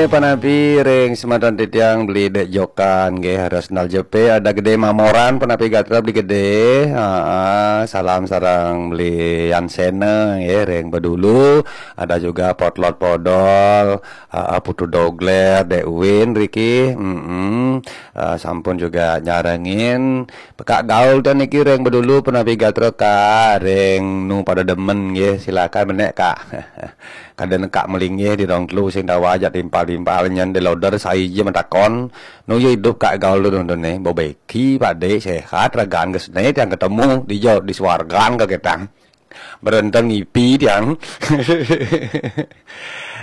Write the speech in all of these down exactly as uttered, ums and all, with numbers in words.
Panapi ring semeton titiang beli dek jokan nggih, Resnal Jepe, ada Gede Mamoran, panapi gatra beli Gede. Aa, salam sareng beli Yansena nggih ring Bedulu, ada juga Potlot Podol, aa, Putu Dogler, Dek Uwin riki. Mm-mm. Aa, sampun juga nyarengin Kak Gaul to niki ring Bedulu, panapi gatra Kak, ring nu pada demen nggih, silakan menek Kak. Kada nekak melinggih di rong telu sing dawa ajak timpal-timpal nyen di loader sai je matakon. Nu ya idup Kak Gaul tu nonton ni. Bebeki Pak Dek sehat ragan gesne tiang ketemu di jo di swargan ke ketang. Berenteng ipi tiang.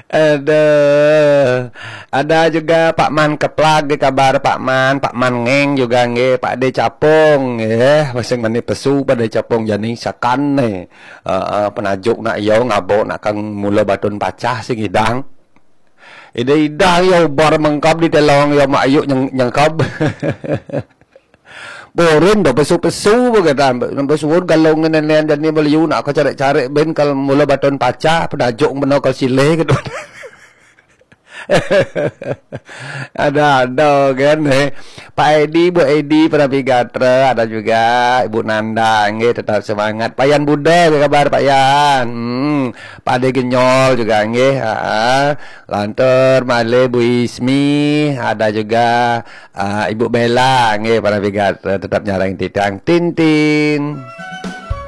Aduh. Ada juga Pak Man Keplag di kabar Pak Man, Pak Man Ngeng juga nggih, Pak De Capung nggih, masing mani pesu Pak De Capung jani sakan ni. Heeh, penajuk nak yo ngabo nak kang mula batun pacah sing idang. Ida-ida yo ubar mengkab di telong yo mak ayuk nyeng, nyengkab. Borin do pesu-pesu begetan. Pesu galong nenen jani beliu nak ko cari-cari ben kal mula batun pacah penajuk beno kal silih gitu. Ada-ada kan eh. Pak Edi, Bu Edi, Perapi Gatra, ada juga Ibu Nanda, nggih tetap semangat. Payan Buda, apa kabar Payan? Hmm, Pade Genyol juga nggih. Ha. Lantur Male Bu Ismi, ada juga ah, Ibu Bella nggih Perapi Gatra tetap nyarang titang Tintin.